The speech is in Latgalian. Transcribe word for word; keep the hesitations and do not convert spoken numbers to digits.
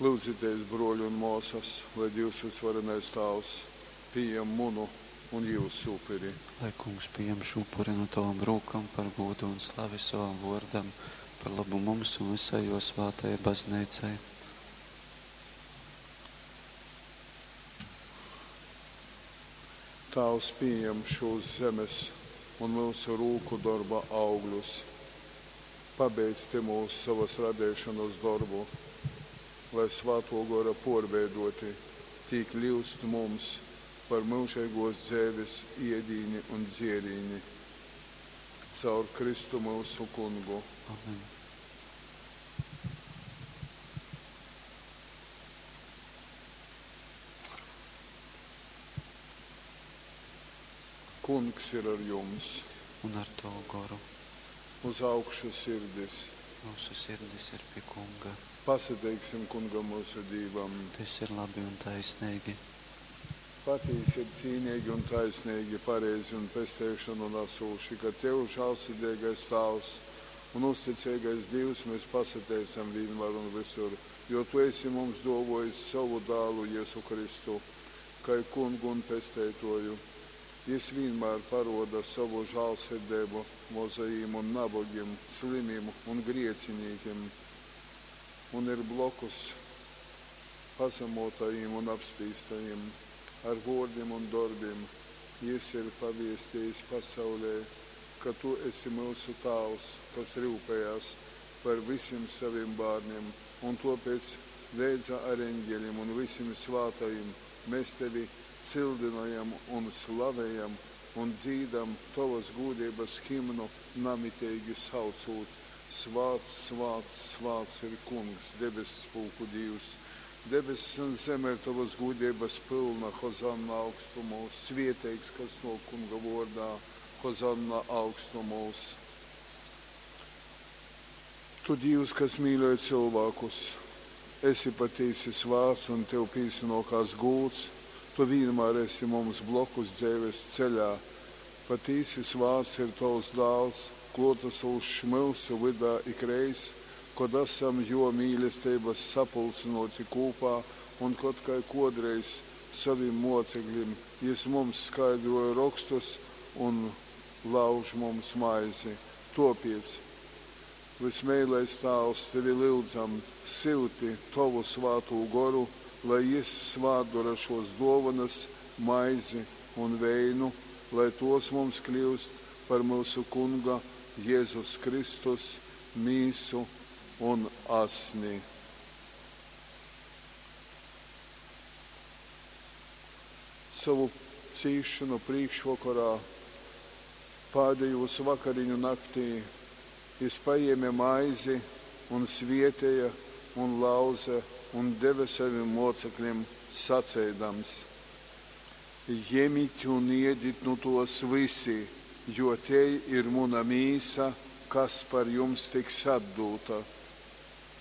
Lyudzitēs, brōli un mōsas, lai Dīvs vysvarenais Tāvs pījam munu un jyusu upuri. Lai Kungs pījam šū upuri nu tovom rūkom par gūdu un slavi sovam vōrdam, par lobu mums un vysai jō svātajai Bazneicai. Tāvs, pījam šūs zemes un myusu rūku dorba augļus. Pabeidz tymūs sovas radeišonas dorbu, lai, Svātō Gora pōrveidōti, tī kļyust mums par myužeigōs dzeives ēdīni un dzērīni. Caur Kristu myusu Kungu. Amen. Kungs ir ar jums. Un ar tovu goru. Uz augšu sirdis. Myusu sirdis ir pi Kunga. Pasateiksim Kungam myusu Dīvam. Tys ir labi un taisneigi. Patīsi ir cīneigi un taisneigi, pareizi un pesteišonu nasūši, ka tev, žālsirdeigais Tāvs un uzticeigais Dīvs, mes pasateicam vīnmār un vysur, jo tu esi mums dōvōjis sovu Dālu Jezu Kristu, kai Kungu un Pesteitōju. Jys vīnmār parōda sovu žālsirdeibu mozajim un nabogim, slymim un griecinīkim un ir blokus pazamōtajim un apspīstajim. Ar vōrdim un dorbim jys ir paviestejis pasaulei, ka tu esi myusu Tāvs, kas ryupejās par vysim sovim bārnim, un tōpēc leidza ar eņgelim un vysim svātajim mes tevi cyldynojam un slavejam un dzīdam tovas gūdeibas himnu namiteigi saucūt, Svāts, svāts, svāts ir Kungs, debesspulku Dīvs! Debess un zeme ir tovas gūdeibas pylna. Hozanna augstumūs! Svieteigs, kas nōk Kunga vōrdā! Hozanna augstumūs! Tu, Dīvs, kas mīļoj cylvākus, esi patīsi svāts un tev pīsanōkās gūds, tu vīnmār esi mums blokus dzeives ceļā. Patīsi svāts ir tovs Dāls, klōtasūšs myusu vydā ikreiz, kod asam jō mīlesteibas sapulcynōti kūpā un kod, kai kōdreiz sovim mōceklim, jys mums skaidrōja Rokstus un lauž mums maizi. Tōpēc, vysmeilais Tāvs, tevi lyudzam, syuti tovu Svātū Goru, lai jys svātdora šōs dōvonas, maizi un veinu, lai tōs mums kļyust par myusu Kunga Jezus Kristus mīsu un asni. Sovu cīsšonu prīškvokorā, pādejūs vakariņu naktī, jys pajēme maizi un svēteja un lauze un deve sovim mōceklim, saceidams. Jemit un ēdit nu tōs vysi, jo tei ir muna mīsa, kas par jums tiks atdūta.